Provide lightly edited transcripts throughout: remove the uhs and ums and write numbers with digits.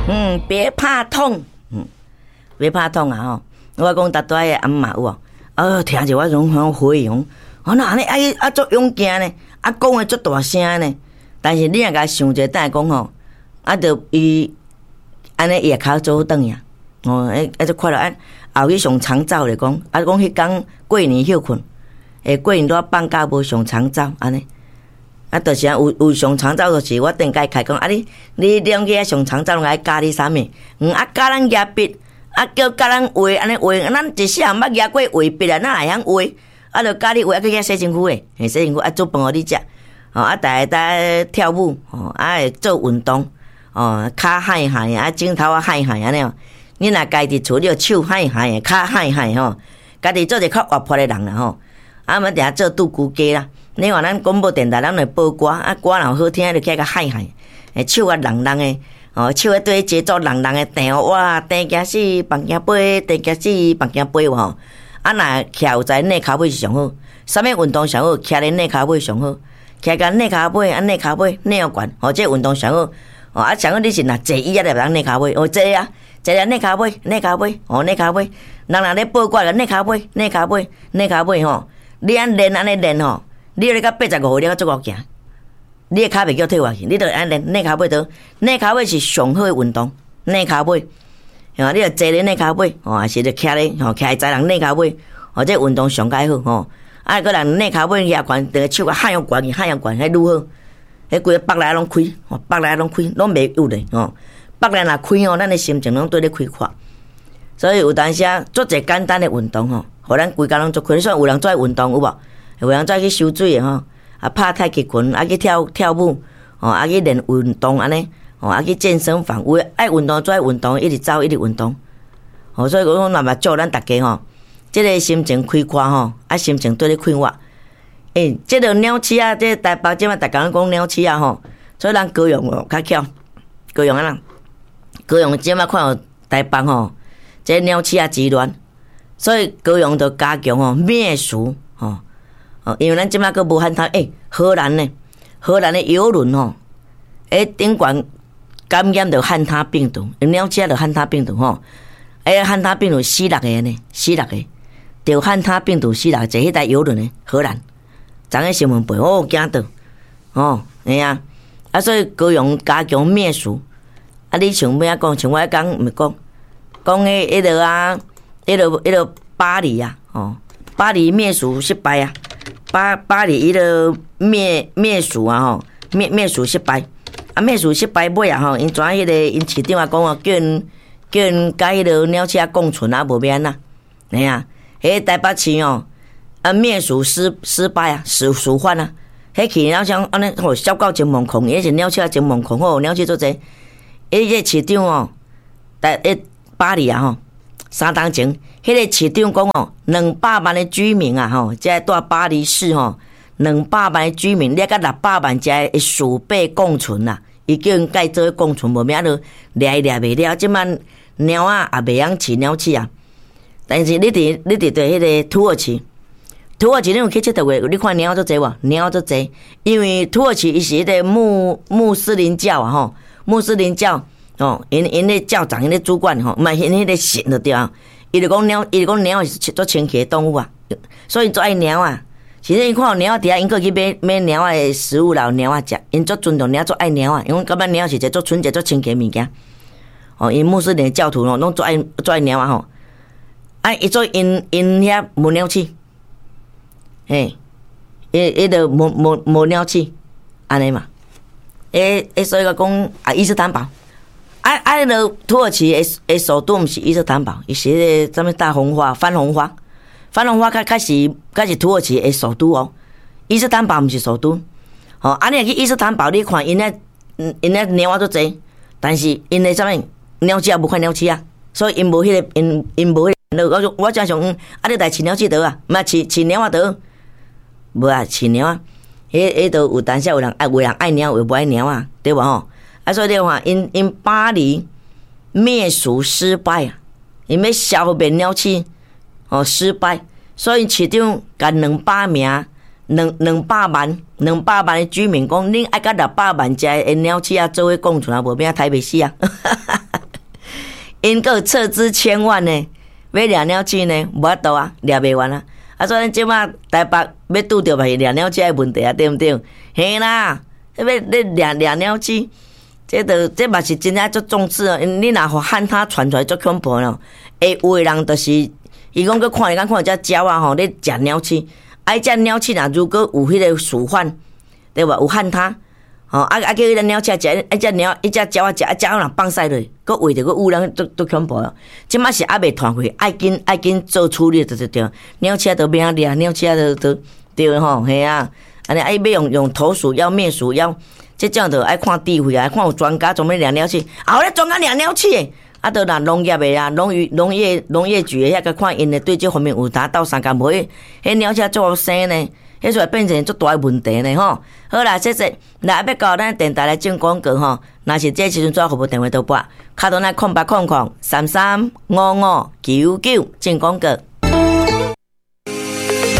嗯，別怕痛，嗯，別怕痛啊！吼，我講逐擺的阿嬤有無？哦，聽著我攏很回憶，我哪按呢愛啊足勇健呢？啊講的足大聲呢？但是你若共想者，等下講吼，啊，著伊按呢伊會較早轉去啊！哦，欸，啊足快樂啊！後去上長照來講，啊講彼工過年歇睏，欸，過年拄放假無上長照按呢。啊，就是啊，有有上長照，就是我頂擺開講，啊你你兩去遐上長照，攏愛教你啥物？嗯，啊教咱舉筆，啊叫教咱畫，按呢畫，咱一世人毋捌舉過畫筆啊，哪會曉畫？啊，就教你畫，啊去遐洗身軀的，嘿，洗身軀啊煮飯予你食，吼，啊，逐个在跳舞，吼，啊會做運動，哦，跤害害，啊指頭仔害害按呢哦。你若家己厝，你著手害害，跤害害吼，家己做一個較活潑的人啦吼。啊，毋定定做獨孤家啦。你看咱廣播電臺，咱會播歌，啊歌若好聽，就起來共害害，欸手啊櫳櫳的，哦手啊對節奏櫳櫳的彈哇，甜驚死，放驚飛，甜驚死，放驚飛吼。啊若徛有在躡跤尾是上好，啥物運動上好？徛咧躡跤尾上好，徛共躡跤尾，啊躡跤尾，躡予懸，吼，這運動上好。哦啊，上好你是若坐椅仔就會當躡跤尾，哦坐啊，坐啊躡跤尾，躡跤尾，哦躡跤尾，人若咧播歌就躡跤尾，躡跤尾，躡跤尾吼。你按練按呢練吼，你咧到85歲你閣足夠行，你的跤袂叫退下去，你著按呢練，躡跤尾倒，躡跤尾是上好的運動，躡跤尾，吼，你著坐咧躡跤尾，吼，還是著徛咧，吼，徛在人躡跤尾，吼，這運動上較好吼。啊，閣人躡跤尾舉懸，著手共喊予懸去，喊予懸，彼愈好。彼規个腹內攏開，吼，腹內攏開，攏袂郁咧，吼。腹內若開吼，咱的心情攏對咧開闊。所以有當時啊，做一個簡單的運動吼，予咱規工攏足開。所以有人做愛運動有無？有人做愛去游水的吼，啊拍太極拳，啊去跳跳舞，吼啊去練運動按呢，吼啊去健身房，有的愛運動做愛運動，一直走一直運動。吼，所以講若嘛祝咱大家吼，這個心情開闊吼，啊心情對咧快活。欸，這個鳥鼠仔，這個台北這馬逐工講鳥鼠仔吼，所以咱高雄哦較巧，高雄按怎？高雄這馬看到台北吼，這鳥鼠仔之亂，所以高雄就加強吼滅鼠吼，哦，因為咱這馬閣無旱獺，欸，荷蘭呢？荷蘭的郵輪吼，欸，頂懸感染著旱獺病毒，鳥鼠仔著旱獺病毒吼，欸，旱獺病毒死六個呢，死六個，著旱獺病毒死六個，坐彼台郵輪的荷蘭，昨昏新聞報，哦，驚到，哦，嘿啊，啊，所以高雄加強滅鼠，啊，你像欲按怎講，像我彼工毋是講，講彼彼落啊，彼落彼落巴黎啊，吼，巴黎滅鼠失敗啊，巴巴黎彼落滅滅鼠啊，吼，滅滅鼠失敗，啊，滅鼠失敗尾啊，吼，𪜶知影彼個𪜶市長啊講啊，叫𪜶叫𪜶共彼落鳥鼠仔共存啊，無欲按怎，嘿啊，彼個台北市吼，啊滅鼠失失敗啊，鼠鼠患啊，彼去鳥鼠按呢吼，痟到真惶恐，彼是鳥鼠仔真惶恐吼，鳥鼠足濟，彼個市長吼，台彼巴黎啊吼，3冬前，彼個市長講吼，200萬的居民啊吼，這住巴黎市吼，兩百萬的居民，你共600萬隻的鼠輩共存啊，伊叫𪜶共做共存，無欲按怎掠伊掠袂了，這擺貓仔也袂曉飼鳥鼠啊。但是你佇你佇佇彼個土耳其，土耳其你有去𨑨迌過？你看貓足濟無？貓足濟，因為土耳其伊是彼個穆穆斯林教啊吼，穆斯林教吼，𪜶𪜶咧教長，𪜶咧主管吼，毋係𪜶彼個神就對啊。伊就講貓，伊就講貓是足清氣的動物啊，所以足愛貓仔。其實𪜶看到貓仔佇遐，𪜶閣去買買貓仔的食物來予貓仔食，𪜶足尊重貓，足愛貓仔，因為感覺貓是一個足純潔、足清氣的物件。哦，𪜶穆斯林教徒吼，攏足愛足愛貓仔吼。啊，伊做𪜶𪜶遐無鳥鼠，嘿，伊伊就無無無鳥鼠，按呢嘛。欸欸，所以講啊，伊斯坦堡，啊啊，彼个土耳其的的首都毋是伊斯坦堡，伊是彼个啥物大紅花、番紅花，番紅花較較是較是土耳其的首都哦。伊斯坦堡毋是首都，吼，啊，你若去伊斯坦堡，你看𪜶遐𪜶遐貓仔足濟，但是𪜶的啥物鳥鼠仔無看鳥鼠仔，所以𪜶無彼個𪜶𪜶無彼個。我我正想，啊，你來飼鳥鼠得啊，毋飼飼貓仔得，無啊，飼貓仔，彼彼都有當時有人愛，有人愛貓，有無愛貓仔，對無吼？啊，所以你看，𪜶𪜶巴黎滅鼠失敗啊，𪜶欲消滅鳥鼠，哦失敗，所以市長共兩百名、兩兩百萬、兩百萬的居民講，恁愛共600萬隻的鳥鼠仔做伙共存啊，無欲按怎刣袂死啊！ 𪜶閣撤資千萬呢，欲掠鳥鼠呢，無法度啊，掠袂完啊！啊，所以咱這馬台北欲拄著嘛是掠鳥鼠的問題啊，對毋對？嘿啦，欲咧掠掠鳥鼠，這著這嘛是真正足重視哦。你若予旱獺傳出來足恐怖咯。會有的人就是，伊講閣看伊敢看這鳥仔吼咧食鳥鼠，啊，彼隻鳥鼠若如果有彼個鼠患，對無？有旱獺。吼啊啊！叫彼个鳥鼠食，彼隻鳥，彼隻鳥仔食，啊鳥仔若放屎落，閣餵著閣汙人，足足恐怖咯。這馬是猶未傳開，愛緊愛緊做處理，對對對。鳥鼠都欲按掠，鳥鼠都都對吼，嘿啊。按呢啊，欲用用投鼠藥滅鼠藥，這種就愛看智慧啊，看有專家專門掠鳥鼠，啊有咧專家掠鳥鼠的，啊，著若農業的啊，農漁農業農業局的遐個看𪜶的對這方面有達到相共無？彼鳥鼠足好生呢。彼就會變成足大的問題呢吼。好啦，謝謝。來，欲到咱電台來進廣告吼。若是這時陣做服務電話都撥，敲到咱0800335599進廣告。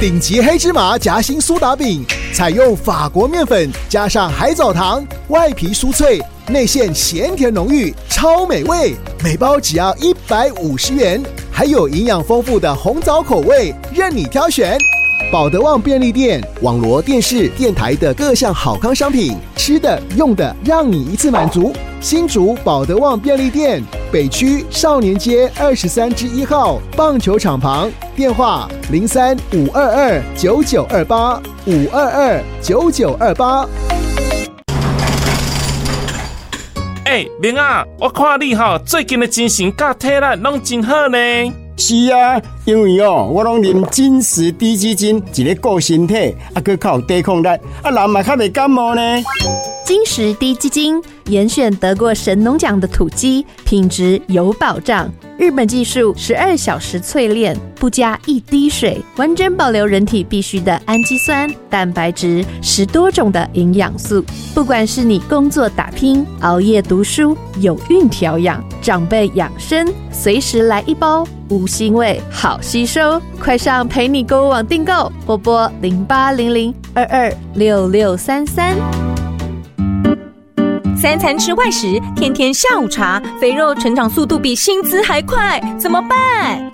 頂級黑芝麻夾心蘇打餅，採用法國麵粉加上海藻糖，外皮酥脆，內餡鹹甜濃郁，超美味。每包只要150元，還有營養豐富的紅棗口味，任你挑選。寶德旺便利店、網羅電視、電台的各項好康商品，吃的、用的，讓你一次滿足。新竹寶德旺便利店，北區少年街23之1號棒球場旁，電話03-522-9928 522-9928。欸，明仔，我看你吼最近的精神佮體力攏真好呢。是啊，因為哦，我攏啉金石滴雞精，一咧顧身體，啊，閣較有抵抗力，啊，人嘛較袂感冒呢。金石滴雞精，嚴選得過神農獎的土雞，品質有保障。日本技術，12小時淬煉，不加一滴水，完整保留人體必需的氨基酸、蛋白質，10多種的營養素。不管是你工作打拼、熬夜讀書、有孕調養、長輩養生，隨時來一包，無腥味，好吸收。快上陪你購物網訂購，或撥0800226633。三餐吃外食，天天下午茶，肥肉成長速度比薪資還快，怎麼辦？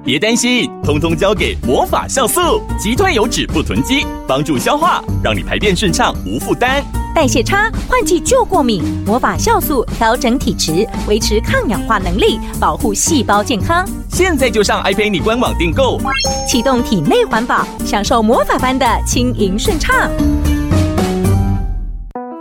別擔心，通通交給魔法酵素，擊退油脂不囤積，幫助消化，讓你排便順暢無負擔。代謝差，換季就過敏，魔法酵素調整體質，維持抗氧化能力，保護細胞健康。現在就上 iPay 官網訂購，啟動體內環保，享受魔法般的輕盈順暢。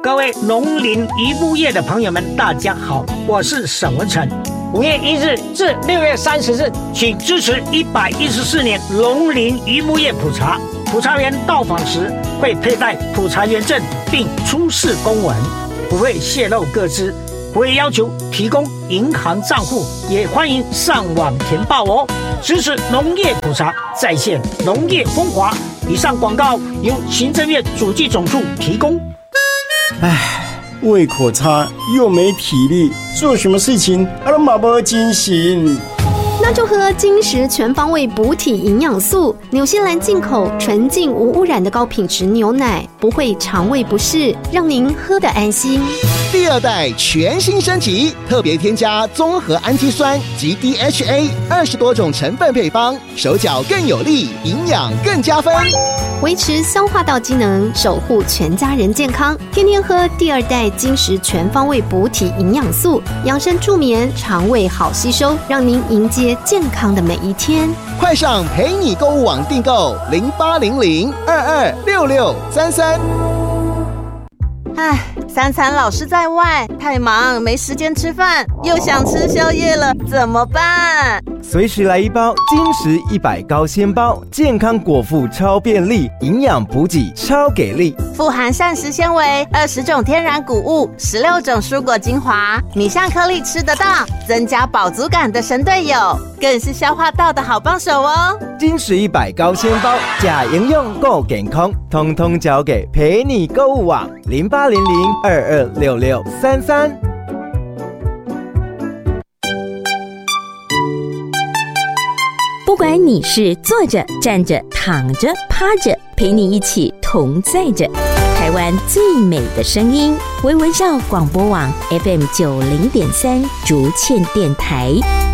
各位農林漁牧業的朋友們，大家好，我是沈文成。5月1日至6月30日，請支持114年農林漁牧業普查。普查員到訪時會佩戴普查員證，並出示公文，不會洩露個資，不會要求提供銀行賬戶，也歡迎上網填報哦。支持農業普查，再現農業風華。以上廣告由行政院主計總處提供。唉，胃口差又沒體力，做什麼事情啊攏嘛無精神。那就喝金石全方位補體營養素，紐西蘭進口純淨無污染的高品質牛奶，不會腸胃不適，讓您喝得安心。第二代全新升級，特別添加綜合氨基酸及 DHA 20多種成分配方，手腳更有力，營養更加分，維持消化道機能，守護全家人健康。天天喝第二代金石全方位補體營養素，養生助眠，腸胃好吸收，讓您迎接健康的每一天。快上陪你購物網訂購0800226633。唉，三餐老是在外，太忙沒時間吃飯，又想吃宵夜了，怎麼辦？隨時來一包金石100高纖包，健康果腹超便利，營養補給超給力。富含膳食纖維，20種天然穀物，16種蔬果精華，米像顆粒吃得到，增加飽足感的神隊友，更是消化道的好幫手哦。金石100高纖包，呷營養顧健康，通通交給陪你購物網0800226633。不管你是坐着、站着、躺着、趴着，陪你一起同在着。台灣灣最美的聲音，微微笑廣播網 FM 90.3竹塹電台。